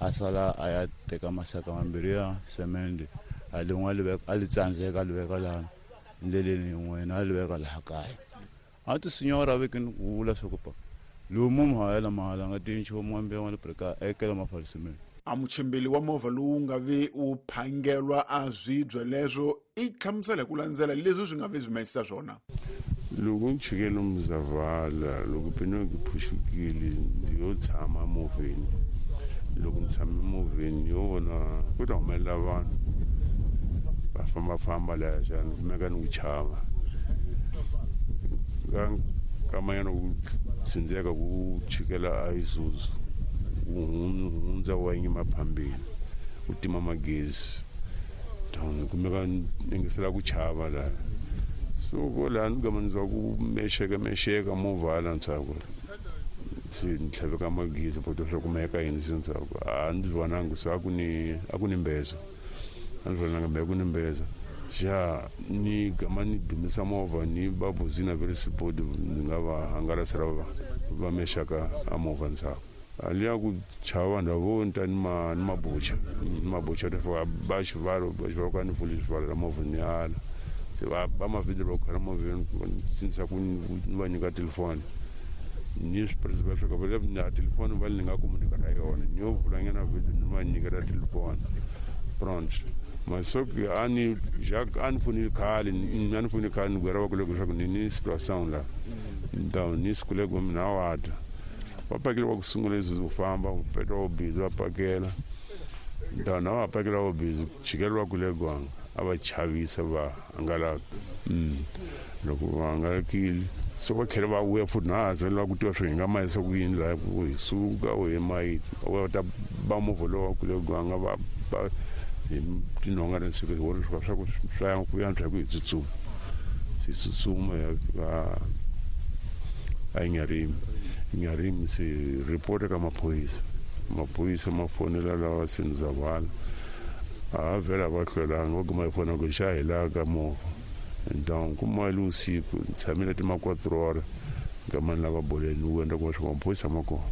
A sala a ya teka masaka mambirhi ya semende, a lin'we a li tsandzeka, a li veka laha endleleni, yin'wana a li veka laha kaya. A ti sinyora vekeni ku vula swa ku pa lowu munhu a yela mahala nga tiyi nchumu wa mbewu wa le ekela mafalisimeni. A muchimbeli wa movha lowu nga ve wu phangelwa a swibye leswo i hlamusela hi ku landzela leswi swi nga ve swi mayisisa swona. Loko ni chikele Mzavala, loko pinoki phuxukile, ndzi yo tshama movheni. Loko ni tshame movheni, yo vona ku ta humelela vanhu va fambafamba laha xana, kumeka ni ku chava ka kamanyana ku tsindzeka ku chikela a Isuzu, wu hundza wa yima phambili, u tima magezi. Kumeka ni yingisela ku chava laha, so ko laha ni gama ni twa ku mexeka mexeka movha hala ndzhaku, se ni tlhaveka magezi poto swa kumeka yini se ndzhaku. A ndzi vonangi, se a ku ni mbeza, a ndzi vonanga mbe ku ni mbeza xa. Ni gama ni dumisa movha, ni va busy na very support, ndzi nga va hangalasela va mexaka a movha ndzhaku. Aliya ku chava vanhu vo ni ta ni mabucha ta fika ba xivalo, ba xivalo ka ni pfuli xivalo la movha, ni ala. Se va ba mavhidyo va khona movheni, sindzisa ku ni va nyika telefoni, ni swi principal swa ka va na telefoni va ni nga komunika ra yona. Ni yo vulanyana video, ni va nyikela telefoni pronto. Masoki a ni Jacques a ni fonile khale, a ni fonile khale, ni gwera va kule leswaku ni situation la. Então ni sikule ku mina wa ta va pakela va ku sungula leswi ku famba petro va busy va pakela. Então na va pakela va busy chikela va kule gwanga a va chavisa va hangalaka. Loko va hangalakile, so va tlhela va vuya futhi na ha zela ku tiva swo hi nga mayisa ku yini laha ku hi suka u hi mayiti va ta ba movha lowu wa kule gwanga va ba hi tinhonga na siku hi vona swa ku swa ku yantswa hi ku hi tsutsuma. Se tsutsuma ya fika a Nyarimi. Nyarimi se report ka maphorisa, maphorisa ma fonela lawa Senizavala, a vhela va hlwelanga, va kuma hi fona ku xa hi laha ka movha. Então kuma le usiku ni tshamile ti ma 4 horas nkamani lava boleni wu endla kuma swa maphorisa ma kona.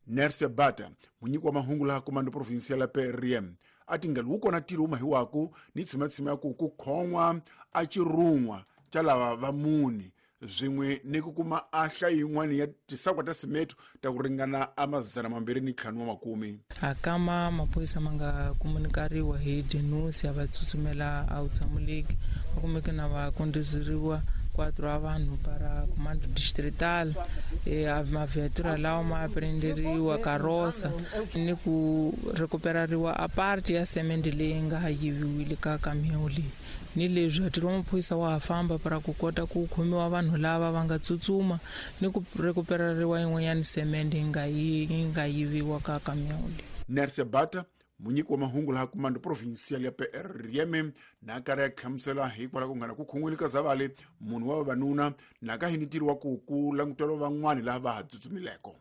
Nersia Bata, munyiki wa mahungu laha comando provincial ya PRM, a tingelo wu kona ntirho wu mahiwaku ni tshimatsima ya ku khon'wa a cirun'wa ca lava va mune swin'we ni ku kuma a hlayo yin'wana ya tisakwa ta simeto ta ku ringana a 250 wa makume. A kama maphorisa ma nga komunikariwa hi denusi, a va tsutsumela a wutshamuleki, va kumeke na va kondozeriwa quatro a vanhu para comando distrital. Maviatura lawa ma aprenderiwa karosa ni ku recuperariwa a parte ya semende leyi nga yiviwile ka kamiyon leyi. Ni leswi ntirho wa maphorisa wa ha famba para ku kota ku khomiwa vanhu lava va nga tsutsuma ni ku recuperariwa yin'wanyana semende yi nga yiviwa ka kamiyon leyi. Nersia Bata, munyiki wa mahungu laha comando provincial ya PRM, na karhi ya hlamusela hikwalaho ku ngana ku khon'wile ka zavale munhu wa vavanuna na ka hini ntirho wa ku langutela van'wani laha va ha tsutsumileko.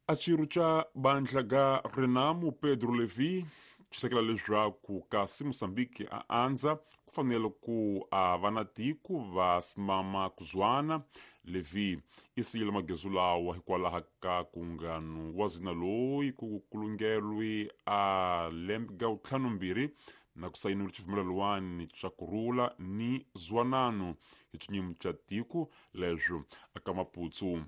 A xirho xa bandla ga Renamo, Pedro Levi, xisekela leswaku kasi Moçambique a andza ku fanele ku a va na tiko va simama kuzwana. Levi i siyile magezu lawa hikwalaho ka kungano wa zina loyi ku kulungelwi a lembe ga 52 na ku sayiniwile xivumelelwani xa kurhula ni zwanano hi xinyimo xa tiko leswo aka Maputsu.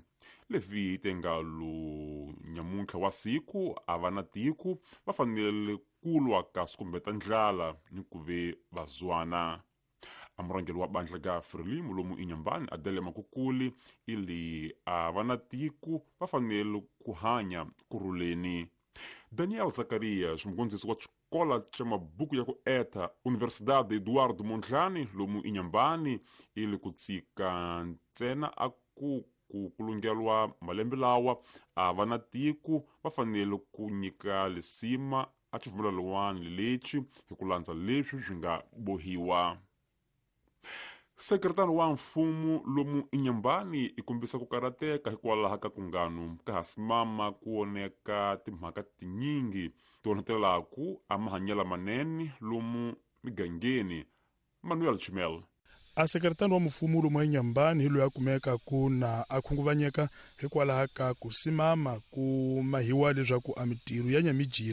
Levi tengalo nyamuntlha wa siku a va na tiko va fanele kulwa kasi kumbeta ndlala ni ku ve vazwana. A murhangeri wa bandla ga Frelimo lomu Inhambane, Adele Makukuli, ili a va na tiko va fanele ku hanya kurhuleni. Daniel Zacarias, mugondzisi wa xikola xa mabuku ya ku eta Universidade Eduardo Mondlane lomu Inhambane, ili ku tshika ntsena a ku kulungelwa malembe lawa a va na tiko va fanele ku nyika lisima a xivumelelwani lexi hi ku landza leswi swi nga bohiwa. Sekretari wa mfumo lomu Inhambane i kombisa ku karhateka hikwalaho ka kungano ka hasimama ku oneka timhaka tinyingi ti onhetelaku a mahanyelo manene lomu migangeni. Manuel Chimel. A sekretari wa mfumo lomu eNyambani hi loyi a kumeka ku na a khunguvanyeka hikwalaho ka ku simama ku mahiwa leswaku a mitirho ya nyamijiri.